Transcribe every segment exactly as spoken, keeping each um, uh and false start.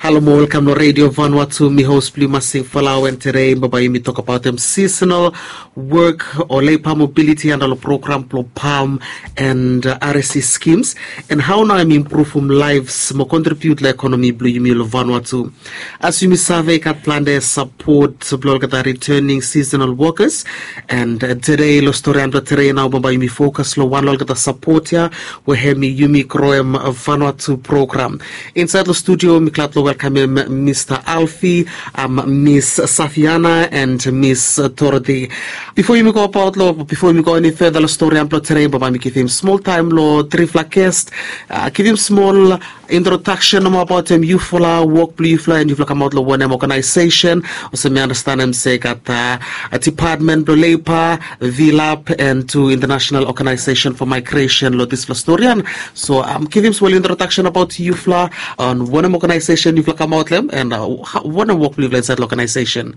Halo mo welkam long Radio Vanuatu, mi host blong yu Masing Falau, and today bambae yumi tok abaot em seasonal work o labor mobility under long program blong PALM and uh, R S C schemes, and hao nao em impruvum lives mo contribute long ekonomi blong yumi long Vanuatu. As yumi save, i gat plante support blong olgeta returning seasonal workers, and uh, today long storian blong today nao bambae yumi focus long wan long olgeta support ia we hemi Yumi Groem Vanuatu program. Insaed long studio mi glad long welkamem Mista Alfie, um, Miss Safiana and Miss Dorothy. Bifo yumi go abaot long, bifo yumi go eni further long storian blong today, bambae mi givim smol taem long trifala guest, uh, givim smol introduction nomo abaot em yufala, wok blong yufala, and yufala kamaot long wanem organization. Olsem mi andastanem se i gat uh, a department blong labor, VLAB, and tu International Organization for Migration long disfala storian. So um, givim smol introduction abaot yufala, on wanem organization yufala kamaot long em, and uh, wanem wok blong yufala insaed long organization.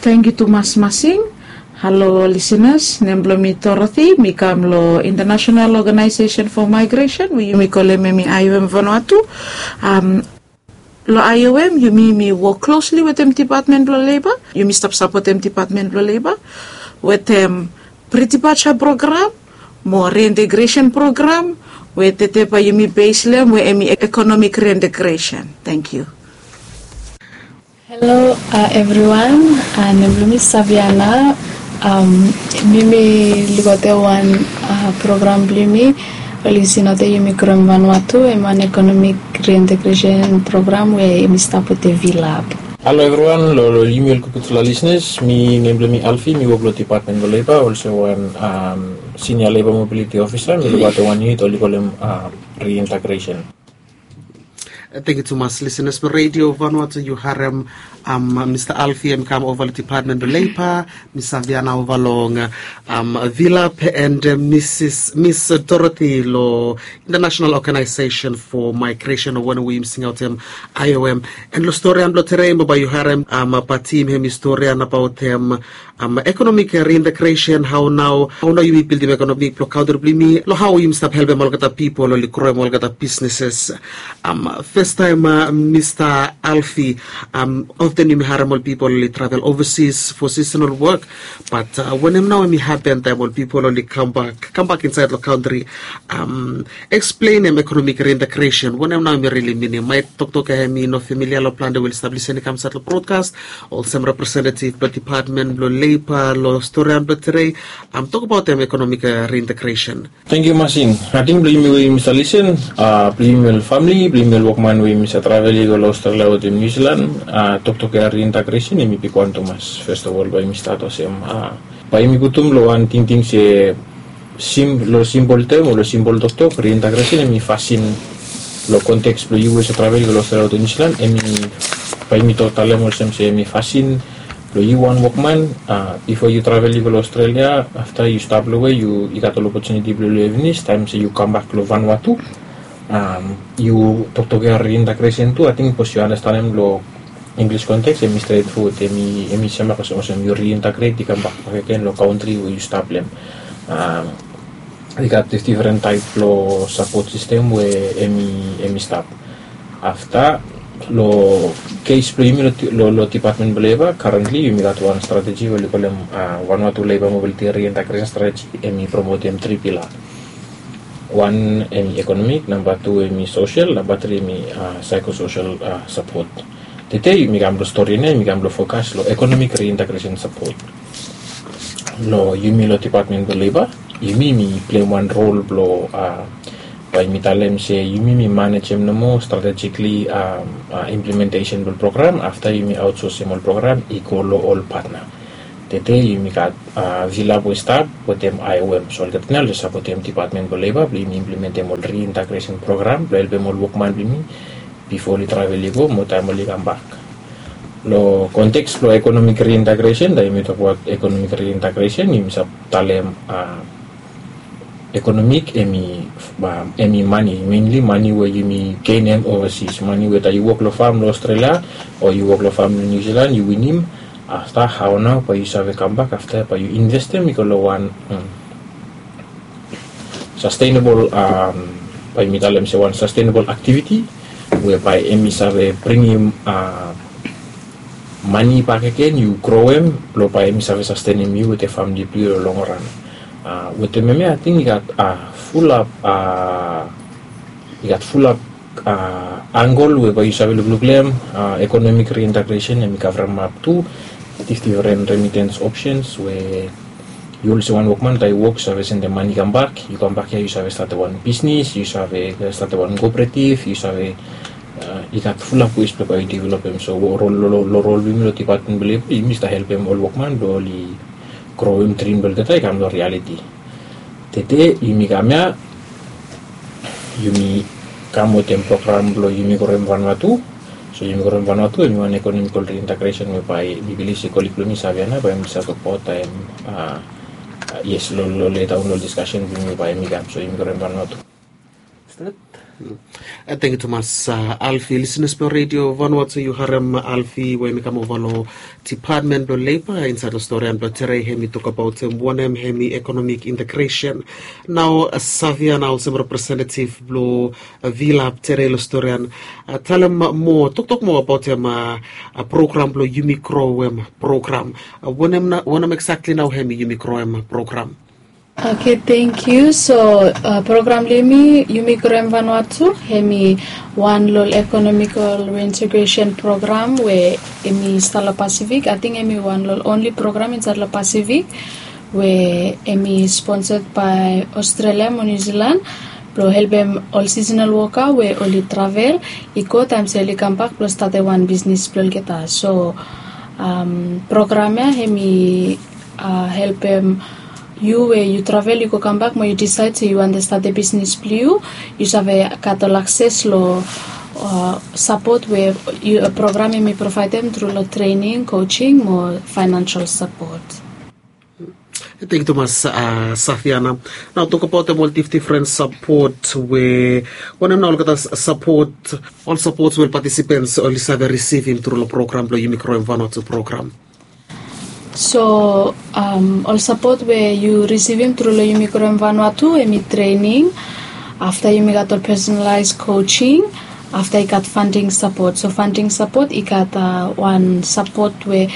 Tangkiu tumas Masing. Halo lisenas, nem blong mi Dorothy, mi kam long International Organization for Migration we yumi kolem hemi IOM Vanuatu. Um, long IOM yumi mi wok klosli wetem department blong labor. Yumi stap sapotem department blong labor wetem pre-departure program mo reintegration program, we tete bae yumi base long em we hemi economic reintegration. Tangkiu. Halo evriwan, nem blong mi Saviana. Mi mi lukaotem wan program blong yumi oli singaotem Yumi Groem Vanuatu, hem wan economic reintegration program we yumi stap wetem VLAB. Halo evriwan, long yumi ol gutfala lisenas, mi nem blong mi Alfi, mi wok long department blong leba olsem wan senior leba mobiliti ofisa. Mi lukaotem wan yunit oli kolem reintegration. Tangkiu tumas lisenas blong Radio Vanuatu, yu harem Mista Alfi hem i kam ova long department blong leba, Mis Saviana ova long VLAB, and Miss Dorothy long International Organization for Migration, o wanem we yumi singaotem IOM. And long storian blong today bambae yu harem Patim hem i storian abaotem economic reintegration, hao nao, hao nao yumi bildim ekonomi blong kantri blong yumi, long hao yumi stap helpem olgeta pipol oli groem olgeta businesses. Festaem Mista Alfi, often yumi harem ol pipol oli travel overseas for seasonal work, but wanem nao hemi hapen taem ol pipol oli kambak, kambak insaed long kantri? Eksplenem economic reintegration, wanem nao hemi rili minim? Maet toktok ia hemi no familia long plante we oli stap lisin i kam insaed long brodkas, olsem representetiv blong department blong leba long storian blong today, tokbaotem economic reintegration. Tangkiu Masin. Ating blong yumi we yumi save lisin, blong yumi ol famili, blong yumi ol wokman we yumi save travel i go long Australia wetem Niu Silan, toktok ia reintegration hemi bigwan tumas. First of all bae yumi stat olsem, bae yumi putum long wan tingting se, long simpol tem o long simpol toktok, reintegration hemi fasin, long konteks blong yu we yu save travel i go long Australia wetem Niu Silan, hemi, bae yumi tok talem olsem se hemi fasin blong yu wan wokman, bifo yu travel i go long Australia, afta yu stap long we, yu i gat ol opotuniti blong yu long Evenis, taem se yu kambak long Vanuatu, yu toktok ia reintegration tu, ating bikos yu andastanem long English konteks hemi stret fowod, hemi, hemi semak olsem, olsem yu reintegrate i kambak bakegen long kantri we yu stap long hem. I gat difdifren taep blong sapot sistem we hemi, hemi stap. Afta, long kes blong yumi long, long department blong leba, currently yumi gat wan strateji we oli kolem Vanuatu Labor Mobility Reintegration Strategy, hemi promotem tri pila. Wan hemi economic, namba tu hemi social, namba tri hemi psychosocial support. Tede yumi kam long stori ia, yumi kam long fokas long economic reintegration support. Long yumi long department blong leba, yumi mi pleim wan rol blong, bae yumi talem se yumi mi manejem nomo strategically implementation blong program, afta yumi outsoursem ol program i go long ol patna. Tede yumi gat VLAB we i stap wetem IOM, so olgeta ia oli sapotem department blong leba blong yumi implementem ol reintegration program blong helpem ol wokman blong yumi bifo oli travel i go mo taem oli kambak. Long konteks blong economic reintegration, taem yumi tokbaot economic reintegration yumi save talem economic hemi, hemi mane, mainly mane we yumi genem overseas, mane we taem yu wok long fam long Australia o yu wok long fam long Niu Silan yu winim, afta hao nao bae yu save kambak afta bae yu investem i go long wan sustainable, bae yumi talem se wan sustainable activity, we bae hemi save bringim mane bakegen, yu groem blong bae hemi save sastenem yu wetem famle blong yu long long ran. Wetem hemia ating i gat fulap i gat fulap angle we bae yu save lukluk long hem. Economic reintegration hemi kavremap tu difdifren remittance options we yu olsem wan wokman taem yu wok yu save sendem mane i kambak, yu kambak ya yu save statem wan bisnis, yu save statem wan kooperative, yu save i gat fulap wes blong bae yu developem. So long rol blong yumi long dipatmen blong leba, yumi stap helpem ol wokman blong oli groem drim blong olgeta i kam long rialiti. Tede yumi kam ya, yumi kam wetem program blong yumi groem Vanuatu. So yumi groem Vanuatu hemi wan economical reintegration we bae mi bilif se kolig blong mi Saviana bae mi save tokbaot taem, yes, long leta on long discussion blong yumi bae mi kam. So yumi groem Vanuatu. Thank you tumas, Alfi. Listeners blong Radio Vanuatu, yu harem Alfi we hemi kam ova long Department blong Labor insaed long storian blong tere, hemi tokbaot wanem hemi economic integration. Nao Saviana olsem representative blong Vilap tere long storian, talem moa, toktok moa abaot hem program blong yumi groem program. Wanem exactly nao hemi yumi groem program? Okay, thank you. So program blong yumi, yumi groem Vanuatu, hemi wan long economical reintegration program we hemi stap long Pacific. Ating hemi wan long only program insaed long Pacific we hemi sponsored by Australia mo New Zealand blong helpem ol seasonal worker we oli travel i go taem se oli kambak blong statem wan bisnis blong olgeta. So program ya hemi helpem yu we yu travel yu go kambak mo yu disaed se yu wantem statem bisnis blong yu, yu save gat ol akses long sapot we program hemi provaedem tru long trening, coaching mo financial sapot. Thank you tumas, Saviana. Nao tokbaot hem ol difdifren sapot we, wanem nao olgeta sapot, ol sapot we ol participants oli save risivim tru long program blong yumi groem Vanuatu program? So ol sapot we yu risivim tru long yumi groem Vanuatu hemi trening, afta yumi gat ol personalized coaching, afta i gat funding sapot. So funding sapot i gat wan sapot we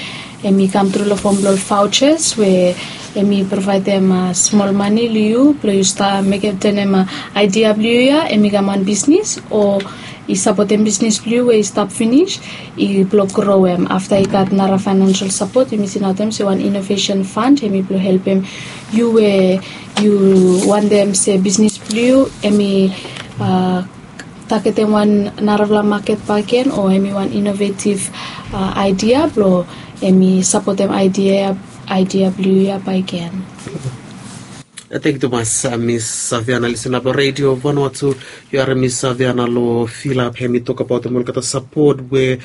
hemi kam tru long fom blong ol vouchers we hemi provaedem smol mane long yu blong yu stap mekem, tanem aidia blong yu ya hemi kam wan bisnis o i sapotem bisnis blong yu we i stap finis, i blong groem. Afta i gat nara financial sapot, yumi singaotem se wan innovation fund, hemi blong helpem yu we yu wantem se bisnis blong yu hemi tagetem wan narafala maket bakegen o hemi wan innovative aidia blong hemi sapotem aidia, aidia blong yu ya bakegen. Thank you tumas, Miss Saviana. Listener blong Radio Vanuatu, yu harem Miss Saviana long Vilap, hemi tokbaot hem olgeta sapot we,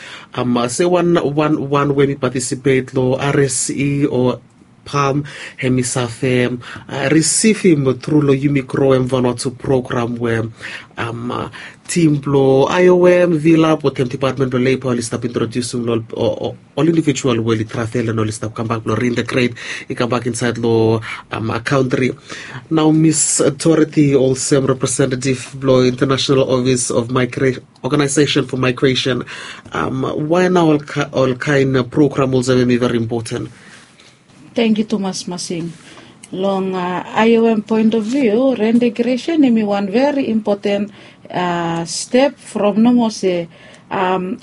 se wan, wan we hemi participate long R S E o PALM, hemi save risivim tru long yumi groem Vanuatu program we tim blong I O M, Vilap wetem Department blong Labor oli stap introdiusim long ol individual we oli travel and oli stap kambak blong reintegrate i kambak insaed long kantri. Nao Miss Dorothy olsem representative blong International Office of Organization for Migration, wae nao ol kaen program olsem hemi veri impoten? Thank you tumas Masing. Long I O M point of view, reintegration hemi wan veri impoten step from nomo se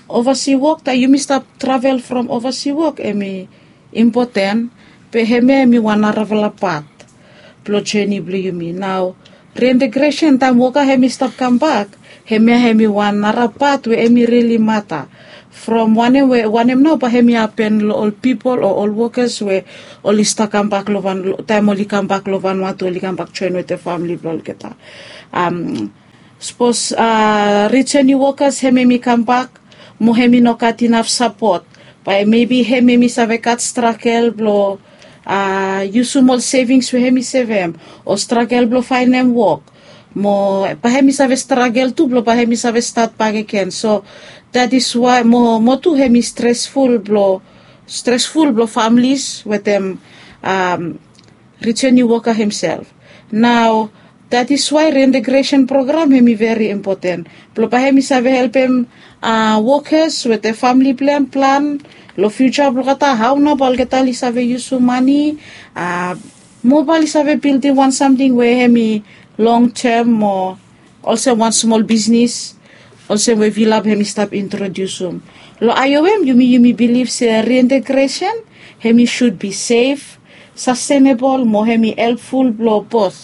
oversea wok, taem yumi stap travel from oversea wok hemi impoten, be hemia hemi wan narafala pat blong jeni blong yumi. Nao reintegresen taem woka hemi stap kambak, hemia hemi wan nara pat we hemi rili mata. From wanem we, wanem nao bae hemi hapen long ol pipol o ol wokas we oli stap kambak long Van, taem oli kambak long Vanuatu oli kambak joen wetem famle blong olgeta. Sapos rijeni wokas hem hemi kambak mo hemi no gat inaf sapot, bae mebi hem hemi save gat stragel blong yusum ol sevings we hemi sevem, o stragel blong faenem wok, mo bae hemi save stragel tu blong bae hemi save stat bakegen. So that is why mo, mo tu hemi stresful blong, stresful blong families wetem rijeni woka hemsef. Nao That is why reintegration program hemi veri impoten blong bae hemi save helpem wokas wetem famili blong hem plan long fiuja blong olgeta, hao nao bae olgeta oli save yusum mane, mo bae oli save bildim wan samting we hemi long tem mo olsem wan smol bisnis, olsem we Vilap hemi stap introdiusum. Long aeoem yumi yumi bilif se reintegresen hemi sud bi sef, sastenebol mo hemi helpful blong bot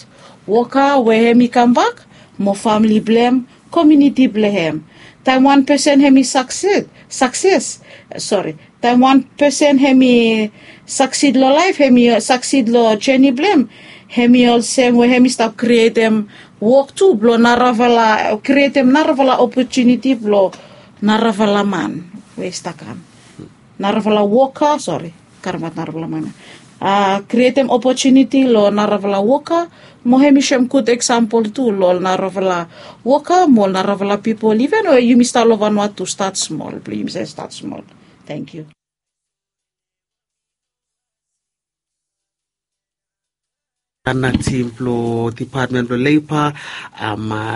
woka we hemi kambak mo famili blong hem, komiuniti blong hem. Taem wan pesen hemi sakses, sakses, sori, taem wan pesen hemi saksid long laef, hemi saksid long jeni blong hem, hemi olsem we hemi stap krietem wok tu blong narafala, krietem narafala opotuniti blong narafala man we i stap kam, narafala woka, sori, karem aot narafala man ya. Krietem opotuniti long narafala woka mo hemi soem gud eksampol tu long ol narafala woka mo ol narafala pipol iven we yumi stap long Vanuatu, stat smol blong yumi save stat smol. Tangkiu. Ana tim blong dipatmen blong leiba,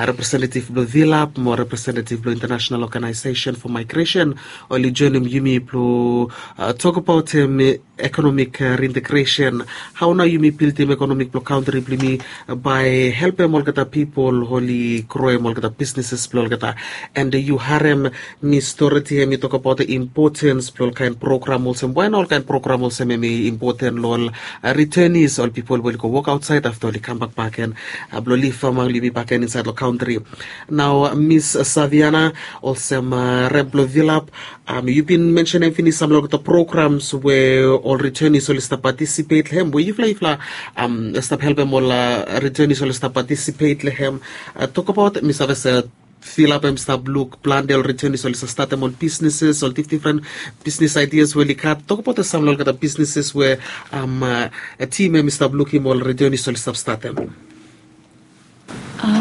representetiv blong Vilap mo representetiv blong International Organization for Migration oli joenem yumi blong tokbaotem ekonomik reintegresen. Hao nao yumi bildim ekonomik blong kantri blong yumi bae helpem olgeta pipol oli groem olgeta bisneses blong olgeta. And yu harem Miss Dorothy hemi tokbaot impotens blong ol kaen program olsem, wae nao ol kaen program olsem hemi impoten long ol retenis, ol pipol we oli go wok aotsaed afta oli kambak bakegen blong liv among yumi bakegen insaed long kantri. Nao Miss Saviana, olsem rep blong Vilap, yu bin mensenem finis sam long olgeta programs we ol retenis oli stap patisipet long hem, we yufala yufala stap helpem ol retenis oli stap patisipet long hem. Tokbaot, mi save se Vilap hemi stap luk plante ol retenis oli stap statem ol bisneses, ol difdifren bisnes aidias we oli gat. Tokbaot sam long olgeta bisneses we tim hemi stap lukim ol retenis oli stap statem.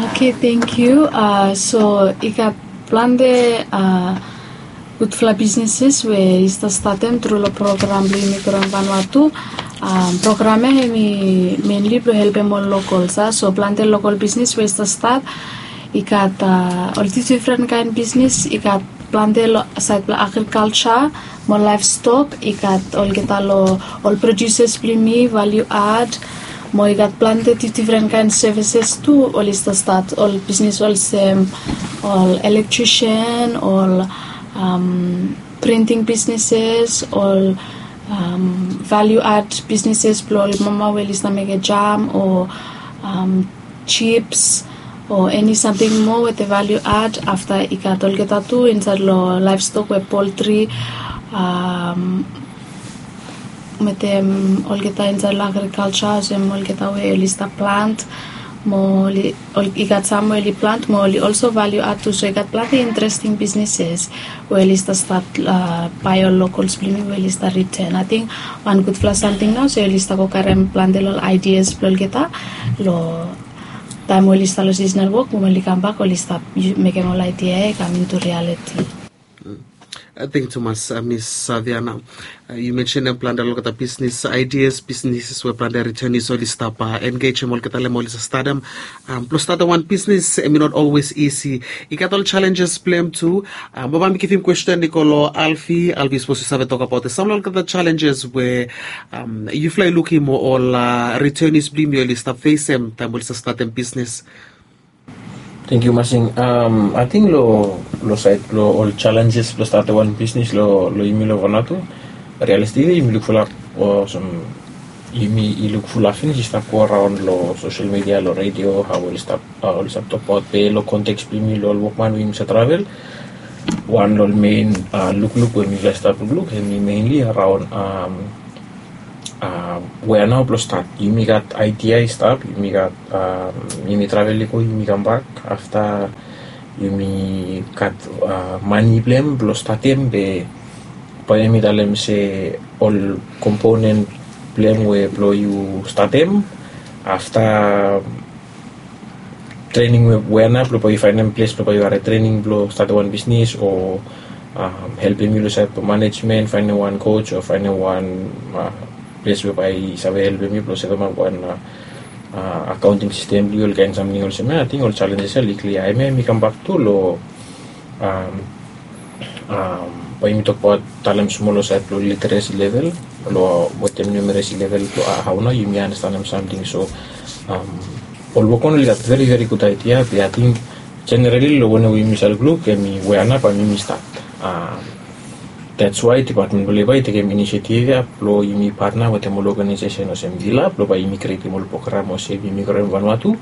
Oke, tangkiu. So i gat plante gudfala bisneses we i stap statem tru long program blong yumi, program Vanuatu. Program ya hemi menli blong helpem ol lokols ya, so plante lokol bisnes we i stap stat. I gat ol difdifren kaen bisnes, i gat plante long saed blong agrikalja mo laevstok, i gat olgeta long ol prodiuses blong yumi, valiu ad, mo i gat plante difdifren kaen sevises tu oli stap stat, ol bisnes olsem ol elektrisen, ol printing bisneses, ol valiu ad bisneses blong ol mama we oli stap mekem jam o jips o eni samting moa wetem valiu ad. Afta i gat olgeta tu insaed long laevstok we poltri, wetem olgeta insaed long agrikalja, olsem olgeta we oli stap plant mo oli, i gat sam we oli plant mo oli olso valiu ad tu. So i gat plante interesting bisneses we oli stap stat bae ol lokols blong yumi we oli stap riten. Ating wan gudfala samting nao se oli stap go karem plante long ol aidias blong olgeta long taem we oli stap long sisonal wok, mo oli kambak oli stap mekem ol aidia ya i kam intu rialiti. Tangkiu tumas Miss Saviana. Yu mensenem plante long olgeta bisnes aidias, bisneses we plante retenis oli stap engejem olgeta long hem, oli stap statem. Blong statem wan bisnes hemi not olwes isi. I gat ol jalenjes blong hem tu. Mo bae mi givim kwesten i go long Alfi. Alfi, sapos yu save tokbaot sam long olgeta jalenjes we yufala i lukim o ol retenis blong yumi oli stap fesem taem oli stap statem bisnes. Tangkiu Masing. Ating long, long saed blong ol jalenjes blong statem wan bisnes long, long yumi long Vanuatu, rialistikli yumi lukfala olsem yumi i lukfala finis i stap go araon long sosel midia, long redio, hao oli stap, oli stap tokbaot pe long konteks blong yumi long ol wokman we yumi save travel. Wan long ol mein lukluk we mifala i stap lukluk hemi menli araon wea nao blong stat. Yumi gat aidia i stap, yumi gat, yumi travel i go, yumi kambak, afta yumi gat mane blong hem blong statem, be bae yumi talem se ol komponen blong hem we blong yu statem, afta trening we, wea nao blong bae yu faenem ples blong bae yu harem trening blong statem wan bisnes o helpem yu long saed blong manejmen, faenem wan koj o faenem wan ples we bae i save helpem yu blong setemap wan akaonting sistem blong yu, ol kaen samting olsem ya, ating ol jalenjes ya oli klia. Hemia hemi kambak tu long, bae yumi tokbaot talem smol long saed blong literesi level, long wetem numeresi level blong hao nao yumi anastenem samting. So ol wokman oli gat veri veri gud aidia, be ating jenerali long wanem we yumi save lukluk hemi we ana bae yumi stat. That's why dipatmen blong leba i tekem inisiativ ya blong yumi patna wetem ol ogenaesesen olsem Vila blong bae yumi krietem ol program olsem yumi kroem vanua tu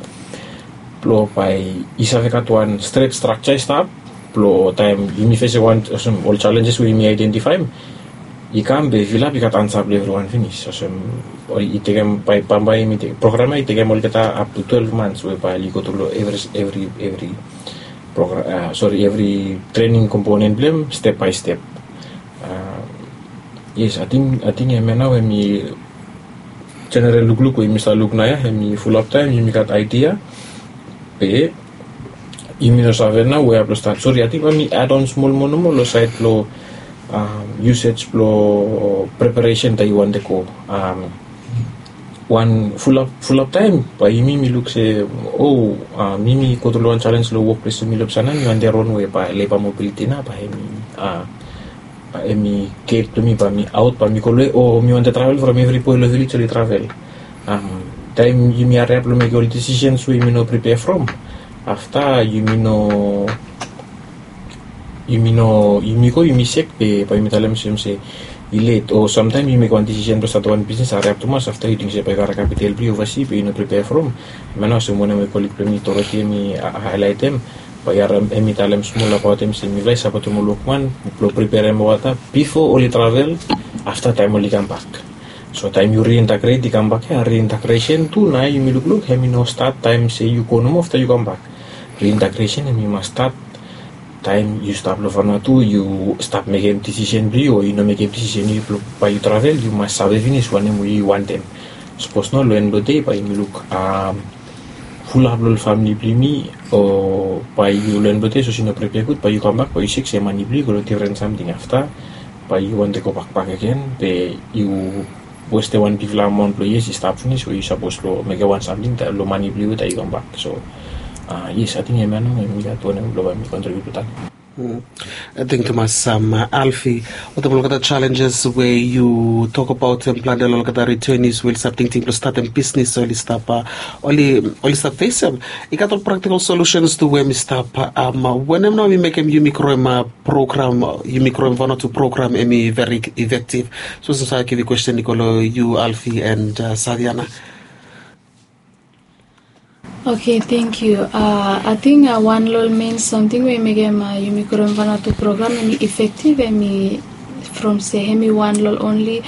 blong bae i save gat wan stret strakja i stap blong taem yumi fesem wan olsem ol jalenjes we yumi aedentifaem i kam be Vila i gat ansa blong evriwan finis. Olsem i tekem bae bambae yumi tekem program ya i tekem olgeta ap tu twelve months we bae oli go tru long evri evri evri program, sori, evri trening komponen blong hem step bae step. Yes, ating hemia nao hemi jeneral lukluk we yumi save luk nao ya hemi fulap taem yumi gat aidia be yumi no save nao we blong stat. Sori, ating bae mi add on smol moa nomo long saed blong usage blong preparesen taem yu wantem go wan fulap fulap taem bae yumi mi luk se, o, yumi go tru long wan jalenj long wokples long mil of sana mi wantem ron we bae leba mobiliti nao bae hemi, hemi get blong mi bae mi aot bae mi go long, o, mi wantem travel from evri boe long vilej oli travel. Taem yumi hariap long mekem ol disisens we yumi no pripea from, afta yumi no yumi no yumi go yumi sek be bae yumi talem olsem se i let, o samtaem yu mekem wan disisen blong statem wan bisnes hariap tumas afta yu ting se bae yu karem kapital blong yu ovasi be yu no pripea from. Hemia nao olsem wanem we kolig blong mi Dorothy hemi haelaetem, bae yu harem hemi talem smol abaotem se mifala i sapotem ol wokman blong priperem wota bifo oli travel, afta taem oli kambak. So taem yu riintegret i kambak ya, riintegresen tu nao yumi lukluk hemi no stat taem se yu go nomo afta yu kambak. Riintegresen hemi mas stat taem yu stap long Vanuatu, yu stap mekem disisen blong yu o yu no mekem disisen blong yu bae yu travel, yu mas save finis wanem we yu wantem. Sapos nao long en blong dei bae yumi luk fulap long ol famili blong yumi, o bae yu long en blong dei sapos yu no pripea gud bae yu kambak bae yu sek se mane blong yu i go long difren samting afta, bae yu wantem go bakbak agen be yu westem wan bigfala amaon blong yias i stap finis we yu sapos long mekem wan samting long mane blong yu taem yu kambak. So yes, ating hemia nao hemi gat wanem blong bae mi kontribiut long taem. Ating tumas, Alfi, wetem olgeta jalenjes we yu tokbaot wetem plante long olgeta ritenis we oli stap tingting blong statem bisnes, oli stap, oli oli stap fesem, i gat ol praktikal solusens tu we hemi stap. Wanem nao hemi mekem yumi kroem program, yumi kroem Vanuatu program hemi veri efektif? Sapos mi save givim kwesten i go long yu Alfi and Saviana. Oke, tangkiu. Ating wan long ol mein samting we i mekem yumi kroem Vanuatu program hemi efektif hemi from se hemi wan long ol onli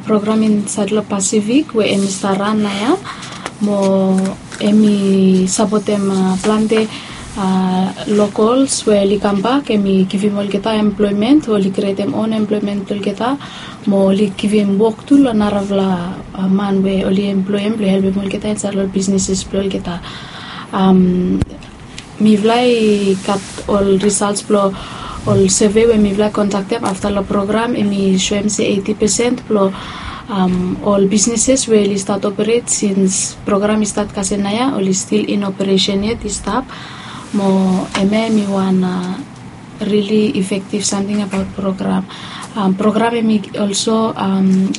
program insaed long Pasifik we hemi stap ran naoia, mo hemi sapotem plante lokols we oli kambak, hemi givim olgeta emploemen, oli krietem on emploemen blong olgeta, mo oli givim wok tu long narafala man we oli emploem blong helpem olgeta insaed long bisneses blong olgeta. Mifala i gat ol risals blong ol seve we mifala i kondaktem afta long program, hemi soem se eiti pesen blong ol bisneses we oli stat operet sins program i stat kasem naoia oli stil in operesen yet, i stap. Mo hemia hemi wan rili efektif samting abaot program. Program hemi olso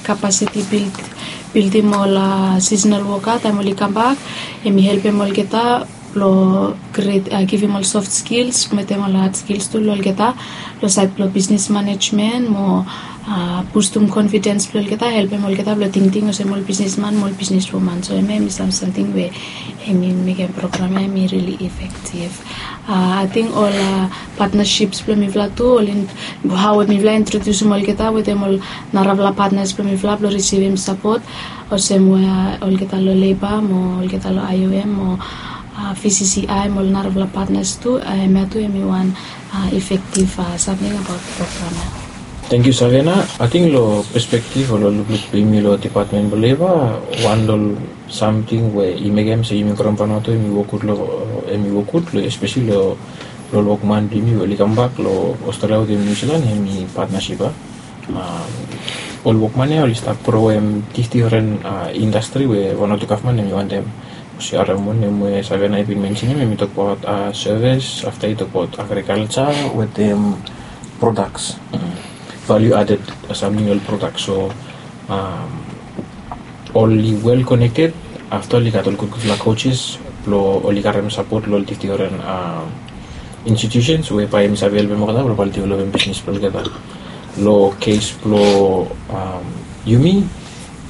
kapasiti bildim ol sisenal woka taem oli kambak, hemi helpem olgeta blong givim ol soft skils wetem ol had skils tu long olgeta long saed blong bisnes manejmen mo bustum konfidens blong olgeta, helpem olgeta blong tingting olsem ol bisnesman mo ol bisneswoman. So hemia hemi sam samting we hemi mekem program ya hemi rili efektif. Ating ol patnasips blong mifala tu, ol hao we mifala i introdiusim olgeta wetem ol narafala patnas blong mifala blong risivim sapot, olsem we olgeta long leba mo olgeta long I O M mo V C C I mo ol narafala patnas tu, hemia tu hemi wan efektif samting abaot program ya. Tangkiu Saviana. Ating long pespektif o long lukluk blong yumi long dipatmen blong leba, wan long ol samting we i mekem se yumi kroem Vanuatu hemi wok gud long, hemi wok gud long espeseli long ol wokman blong yumi we oli kambak long Australia wetem New Zealand hemi patnasip ya. Ol wokman ya oli stap groem difdifren indastri we Vanuatu gavman hemi wantem. Olsem harem wanem we Saviana i bin mensenem, hemi tokbaot sevis, afta i tokbaot agrikalja wetem prodaks, valiu aded, samting ol prodaks. So oli wel konekted. Afta oli gat ol gudgudfala coaches blong oli karem sapot long ol difdifren institutions we bae hemi save helpem olgeta blong bae oli developem bisnis blong olgeta. Long kes blong yumi,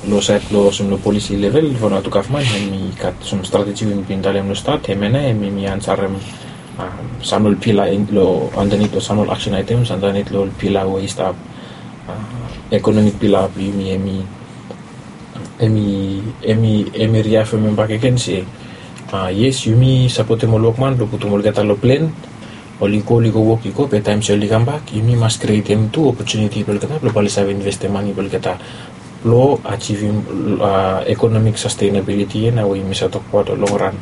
long saed blong olsem long polisi level, Vanuatu gavman hemi gat sam strateji we mi bin talem long stat, hemia nao hemi ansarem sam long ol pila long andanit, long sam long ol aksen aetems andanit long ol pila we i stap, ekonomik pila blong yumi. Hemi hemi hemi riafemem bakegen se yes, yumi sapotem ol wokman blong putum olgeta long plen. Oli go oli go wok i go, be taem se oli kambak yumi mas krietem tu opotuniti blong olgeta blong bae oli save investem mane blong olgeta blong ajivim ekonomik sastenabiliti ya nao we yumi save tokbaot long longran.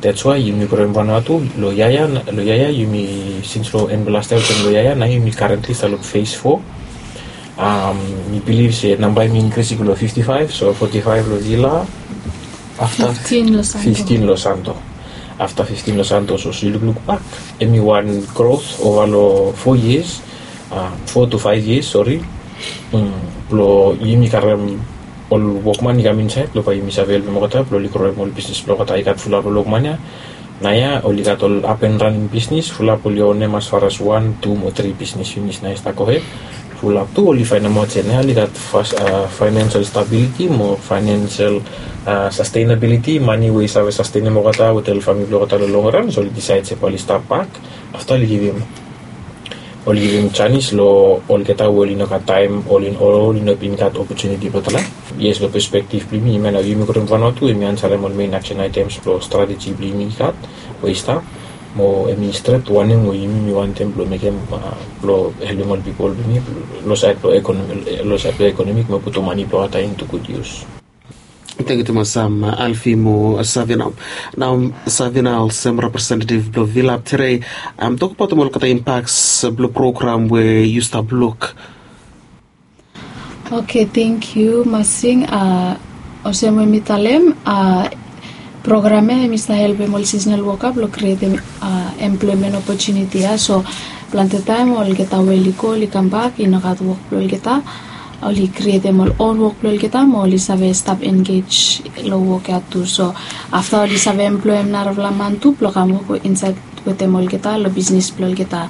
Dats wae yumi groem Vanuatu long ya ya, long ya ya yumi, sins long en blong las yia wetem long ya ya, nao yumi karentli stap long fes fo. Mi bilif se namba hemi inkris i go long fifti faef, so foti faef long Vila, afta fiftin long Santo. Afta fiftin long Santo, so yu lukluk bak, hemi wan grot ova long fo yias, fo tu faef yias, sori, blong yumi karem ol wokman i kam insaed blong bae yumi save helpem olgeta blong oli groem ol bisnis blong olgeta. I gat fulap ol wokman ya naoia, oli gat ol apenraning bisnis, fulap oli onem as far as wan, tu mo tri bisnis finis, nao i stap gohed. Fulap tu oli faenemaot se nao oli gat faenensel stabiliti mo faenensel sastenabiliti, mane we i save sastenem olgeta wetem ol famili blong olgeta long longran. So oli disaed se bae oli stap bak. Afta oli givim oli givim janis long olgeta we oli no gat taem, oli oli no bin gat opotuniti blong tale. Yes, long pespektif blong yumi, hemia nao yumi groem Vanuatu, hemi ansarem ol mein aksen aetems blong strateji blong yumi i gat we i stap, mo hemi stret wanem we yumi mi wantem blong mekem blong helpem ol pipol blong yumi long saed blong ekonomik mo putum mane blong olgeta intu gud yus. Tangkiu tumas, Alfi mo Savina. Nao Savina, olsem representetiv blong Vilap Tere, tokbaotem olgeta impaks blong program we yu stap luk. Oke, tangkiu Masing. Olsem we mi talem, program ya hemi stap helpem ol siznal woka blong krietem emploemen opotuniti ya. So plante taem olgeta we oli go oli kambak i no gat wok blong olgeta, oli krietem ol on wok blong olgeta mo oli save stap engej long wok ya tu. So afta oli save emploem narafala man tu blong kam wok insaed wetem olgeta long bisnis blong olgeta.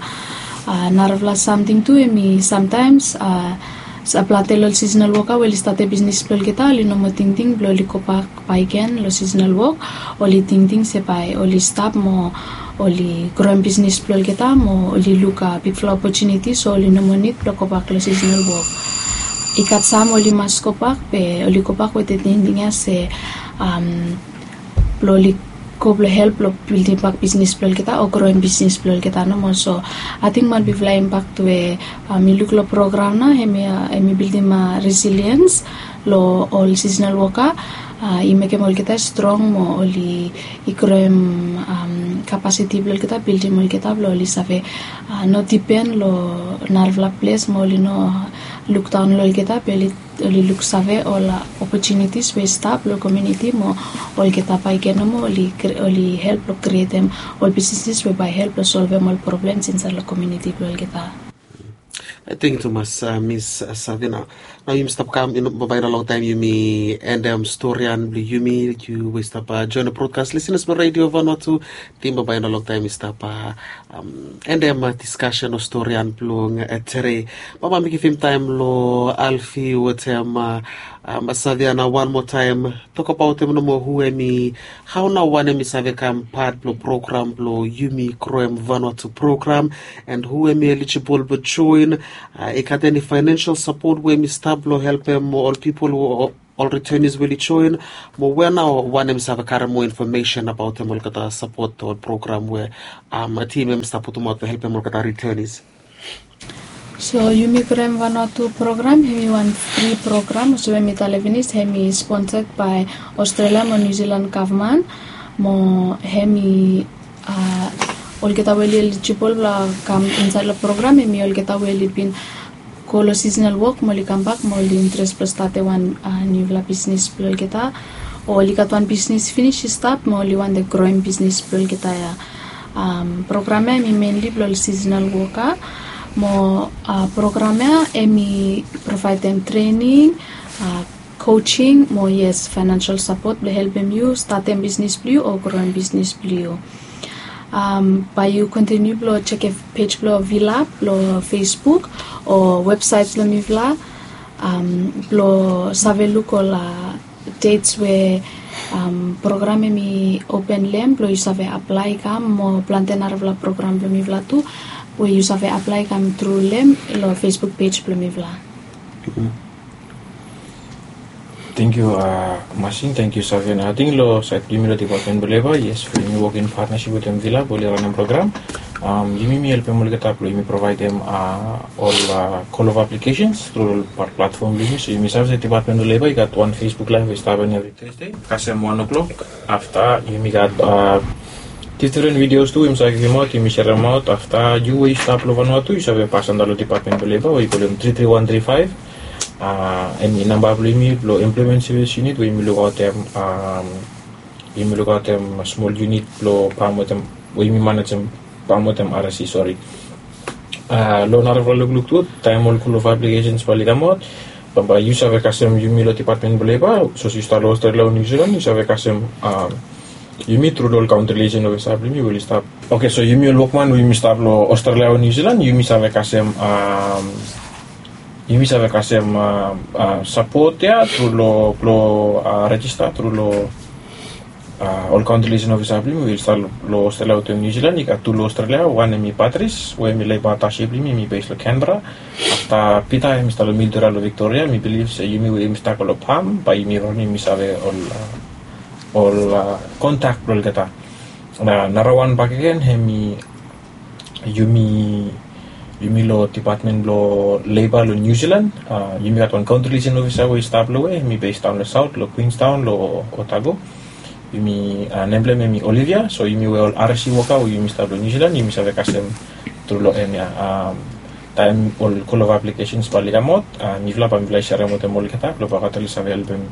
Narafala samting tu hemi samtaems plante long ol siznal woka we oli statem bisnis blong olgeta oli no moa tingting blong oli gobak bakegen long siznal wok. Oli tingting se bae oli stap mo oli groem bisnis blong olgeta mo oli luk bigfala opotuniti, so oli no moa nid blong gobak long siznal wok. I gat sam oli mas gobak, be oli gobak wetem tingting ya se blong oli go blong help blong bildimbak bisnis blong olgeta o groem bisnis blong olgeta nomo. So ating wan bigfala impak we mi luk long program nao hemi bildim resiliens long ol siznal woka. I mekem olgeta strong mo oli i groem kapasiti blong olgeta, bildim olgeta blong oli save no dipen long narafala ples mo oli no lukdaon long olgeta, be oli luksave ol opotunitis we i stap long komuniti mo olgeta bakegen nomo oli help long krietem ol bisnis we bae help long solvem ol problems insaed long komuniti blong olgeta. Tangkiu tumas, Mis Savina. Nao yumi stap kam, bambae i no longtaem yumi endem storian blong yumi. Yu we i stap joen long brodkas, lisenas blong Redio Vanuatu, ting bambae i no longtaem i stap endem diskasen o storian blong Tere. Bambae mi givim taem long Alfi wetem Savina wan moa taem, tokbaotem nomo hu hemi, hao nao wan hemi save kam pat blong program blong yumi groem Vanuatu program, and hu hemi elijibol blong joen. I gat eni faenensel sapot we hemi stap blong helpem ol pipol, ol retenis we oli joen? Mo we nao wan hemi save karem moa infomesen abaotem olgeta sapot o program we tim hemi stap putumaot blong helpem olgeta retenis? So yumi groem Vanuatu program hemi wan fri program, olsem we mi talem finis, hemi sponsed bae Australia mo New Zealand gavman. Mo hemi olgeta we oli elijibol blong kam insaed long program hemi olgeta we oli bin go long sisenal wok mo oli kambak mo oli interes blong statem wan nufala bisnis blong olgeta, o oli gat wan bisnis finis i stap mo oli wantem groem bisnis blong olgeta ya. Program ya em i menli blong ol sisenal woka, mo program ya em i provaedem trening, coaching mo yes, financial sapot blong helpem yu statem bisnis blong yu o groem bisnis blong yu. Bae yu kontiniu blong sekem pej blong Vila blong Facebook o websaet blong mifala blong save luk ol dets we program em i open long hem blong yu save aplae i kam mo plante narafala program blong mifala tu we yu save aplae i kam tru long hem long Facebook pej blong mifala. Tengkiu Masin, tengkiu Savian. Ating long saed blong yumi long depatmen blong leba, yes, yumi wok in patnasip wetem Vila blong oli ranem program. Yumi mi helpem olgeta blong yumi provaedem ol call of applications tru long platfom blong yumi. So yumi save se depatmen blong leba i gat wan Facebook laev we i stap evri Tasde kasem wan o'clock. Afta yumi gat difdifren videos tu we yumi save givimaot, yumi seremaot. Afta yu we yu stap long Vanuatu yu save pas antap long depatmen blong leba we i kolem tri tri wan tri faev. Em i namba blong yumi blong emploemen sevis yunit we yumi lukaotem, yumi lukaotem smol yunit blong pam wetem, we yumi manejem pam wetem R S C, sori. Long narafala lukluk tu, taem ol call of applications bae oli kamaot, bambae yu save kasem yumi long depatmen blong leba. Sapos yu stap long Australia o New Zealand yu save kasem yumi tru long ol kaontri liason ofisa blong yumi we oli stap. Oke, so yumi ol wokman we yumi stap long Australia o New Zealand yumi save kasem, yumi save kasem sapot ya tru long, blong rejista tru long ol kaontri liason ofisa blong yumi we oli stap long Australia wetem New Zealand. I gat tu long Australia, wan em i Patris we em i leba atasia blong yumi, em i bes long Canberra. Afta Pita em i stap long Mildura long Victoria. Mi bilif se yumi we yumi stap go long pam bae yumi ranem yumi save ol ol kontak blong olgeta. Na narawan bakegen hem i yumi, yumi long depatmen blong leba long New Zealand. Yumi gat wan kaontri liason ofisa we i stap long we hem i bes daon long saot long Queenstown long Otago. Yumi, nem blong hem hem i Olivia. So yumi we ol R S C woka we yumi stap long New Zealand yumi save kasem tru long hem ya. Taem ol call of applications bae oli kamaot, mifala bae mifala i serem wetem olgeta blong bae olgeta oli save helpem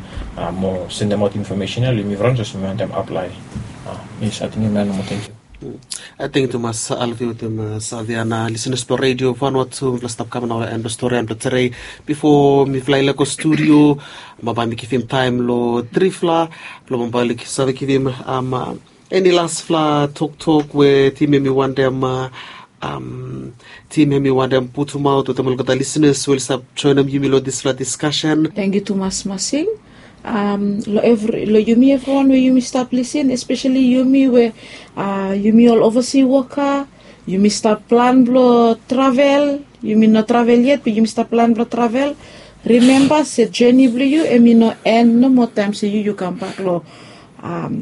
mo sendemaot infomesen ya long yumi frans olsem yumi wantem aplae. Yes, ating hemia nomo, tengkiu. Ating tumas Alvi wetem Savian. Lisenas blong redio Vanuatu, mifala stap kam nao long en blong stori ya blong tedei. Bifo mifala i lego studio, bambae mi givim taem long trifala blong bambae oli save givim eni lasfala toktok we tim hem i wantem, tim hem i wantem putumaot wetem olgeta lisenas we oli stap joenem yumi long disfala diskasen. Tengkiu tumas Masing. Long evri, long yumi evriwan we yumi stap lisin, espeseli yumi we yumi ol ovasi woka, yumi stap plan blong travel, yumi no travel yet be yumi stap plan blong travel. Rimemba se joni blong yu hem i no en nomo taem se yu yu kambak long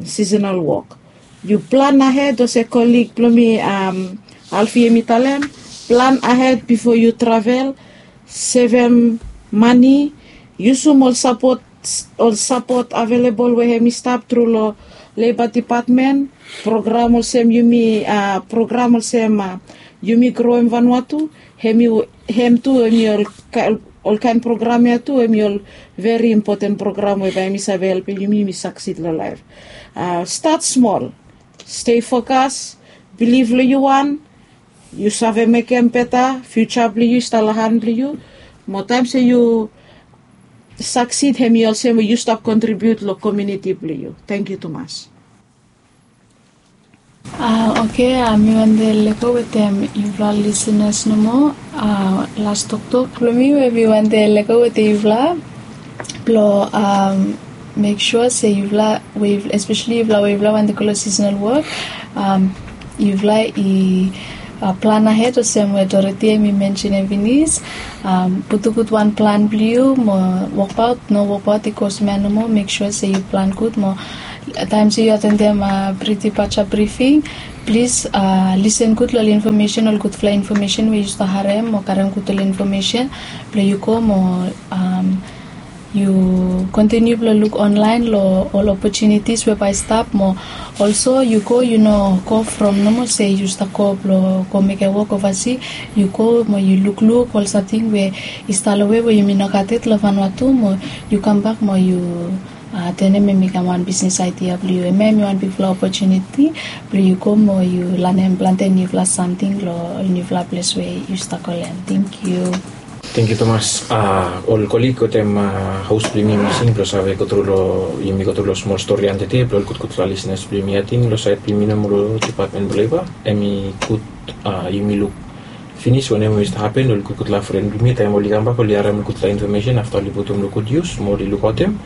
sisenal wok. Yu plan ahed olsem kolig blong mi, Alfi hem i talem, plan ahed bifo yu travel, sevem mane, yusum ol sapot, ol sapot avelebol we hem i stap tru long leba depatmen. Program olsem yumi, program olsem yumi groem Vanuatu, hem i, hem tu hem i ol kaen program ya tu hem i ol veri impoten program we bae hem i save helpem yumi yumi saksid long laef. Stat smol, stei fokas, bilif long yu wan, yu save mekem beta, fiuja blong yu i stap long han blong yu. Mo taem se yu saksid hem i olsem we yu stap kontribiut long komiuniti blong yu. Tengkiu tumas. Oke, mi wante lego wetem yufala lisenas nomo. Las toktok blong mi we mi wante lego wetem yufala blong mek sua se yufala we, espeseli yufala we yufala wante go long sisenal wok, yufala i plan ahed olsem we Dorothy hem i mensenem finis. Putum gud wan plan blong yu mo wokbaot, no wokbaot i go olsem ya nomo. Mek sua se yu plan gud mo taem se yu atendem Pretty Pacha brifing, plis lisen gud long ol infomesen, ol gudfala infomesen we yu stap harem mo karem gud ol infomesen blong yu go mo Yu kontiniu blong luk onlaen long ol opotunitis we bae i stap mo olso yu go, yu no go from nomo se yu stap go blong go mekem wok ovasi. Yu go mo yu lukluk ol samting we i stap long we we yumi no gat yet long Vanuatu mo yu kambak mo yu tenem em i kam wan bisnis aidia blong yu. Em ya em i wan bigfala opotuniti blong yu go mo yu lanem plante niufala samting long niufala ples we yu stap go lanem. Tenkyu. Tenkyu tumas. Ol kolig wetem haos blong yumi masing blong save gotru long yumi gotru long smol stori antede blong ol gudgudfala lisnas blong yumi. Ating long saed blong yumi nomo long dipatmen blong leba em i gud yumi luk finis wanem we i stap hapen long ol gudgudfala fren blong yumi taem oli kambak oli harem ol gudfala infomesen afta oli putum long gud yus mo oli lukaotem.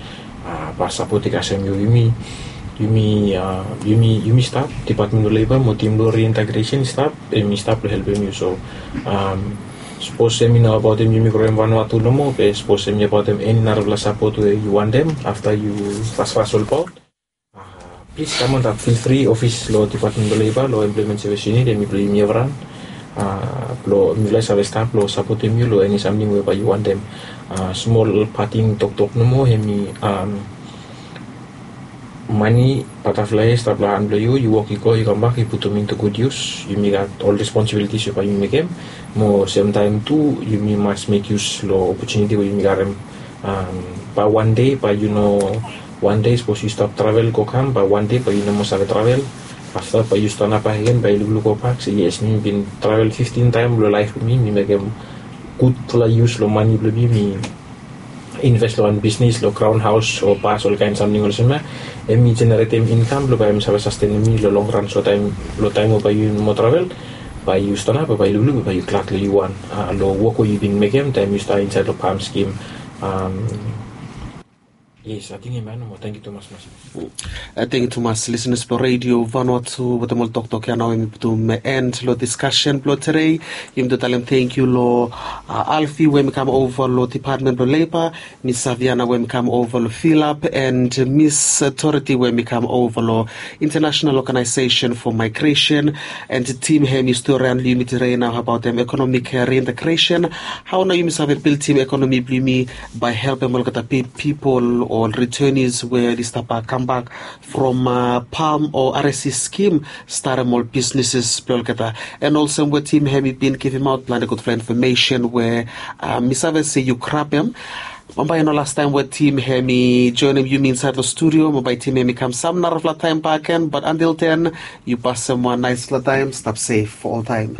Ba sapot i kasem yumi yumi yumi yumi stap dipatmen blong leba mo tim blong riintegresen i stap em i stap long helpem yu so sapos em i no abaotem yumi kroem Vanuatu nomo be sapos em i abaotem eni narafala sapot we yu wantem afta yu fasfas olbaot. Plis kam antap fil fri ofis long dipatmen blong leba long emploemen sevis yunit em i blong yumi evran. Blong mifala i save stap long sapotem yu long eni samting we bae yu wantem. Smol pating toktok nomo em i mani bataflae i stap long han blong yu yu wok i go i kambak i putum intu gud yus yumi gat ol responsibilitis we bae yumi mekem. Mo semtaem tu yumi mas mek yus long opotuniti we yumi garem. Bae wan dei bae yu no wan dei sapos yu stap travel go kam bae wan dei bae yu no moa save travel. Afta bae yu stanap bakegen bae yu lukluk go bak se yes mi bin travel fiftin taem long laef blong mi mi mekem gudfala yus long mani blong mi mi inves long wan bisnis long graon haos o bas olkaen samting olsem ya. Em i jeneretem inkam blong bae em save sastenem mi long longran so taem long taem we bae yu no moa travel bae yu stanap bae yu lukluk bae yu glad long yu wan long wok we yu bin mekem taem yu stap insaed long pam skim. Yes, ating em ya nomo. Tenkyu tumas mas. Tenkyu tumas lisenas blong redio Vanuatu wetem ol toktok ya nao em i putum en long diskasen blong tedei. Yumi tu talem tenkyu long Alfi we em i kam ova long dipatmen blong leba, Mis Saviana we em i kam ova long Filap and Mis Toriti we em i kam ova long International Organization for Migration. And tim hem i stori han long yumi tedei nao abaotem ekonomik riintegresen. Hao nao yumi save bildim ekonomi blong yumi bae helpem olgeta pipol o ol ritenis we oli stap kambak from pam o R S C skim, starem ol bisneses blong olgeta. And olsem we tim hem i bin givimaot plante gudfala infomesen we mi save se yu grabem. Bambae i no lastaem we tim hem i joenem yumi insaed long studio, bambae tim hem i kam sam narafala taem bakegen, bat antil den yu pasem wan naesfala taem. Stap sef oltaem.